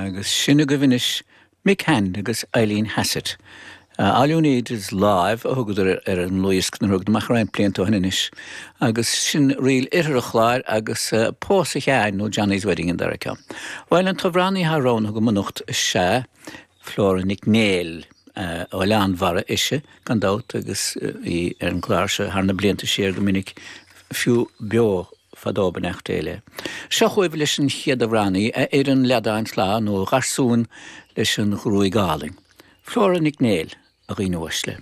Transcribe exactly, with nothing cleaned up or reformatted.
Agus sin agaibh anois Mick Hand agus Eileen Hassett. Uh, All You Need Is Live a thugadar ar an ndlúthdhiosca a thugadar amach roinnt blianta ó shin anois. Agus sin ríl Oirthear an Chláir agus uh, Pósadh Sheáin nó Johnny's Wedding an dara ceann. Bhuel an t-amhránaí atá roghnaithe agam anocht is ea Flora Nic Néill uh, ó Oileán Bharra ise gan dabht agus uh, í ar an chlár seo thar na blianta siar go minic fiú beo fadó beannacht Dé léi. Seo chugaibh leis an chéad amhránaí a fhir an leadáin lá nó garsún leis an ghruaig álainn. Flora Nic Néill a dhaoine uaisle.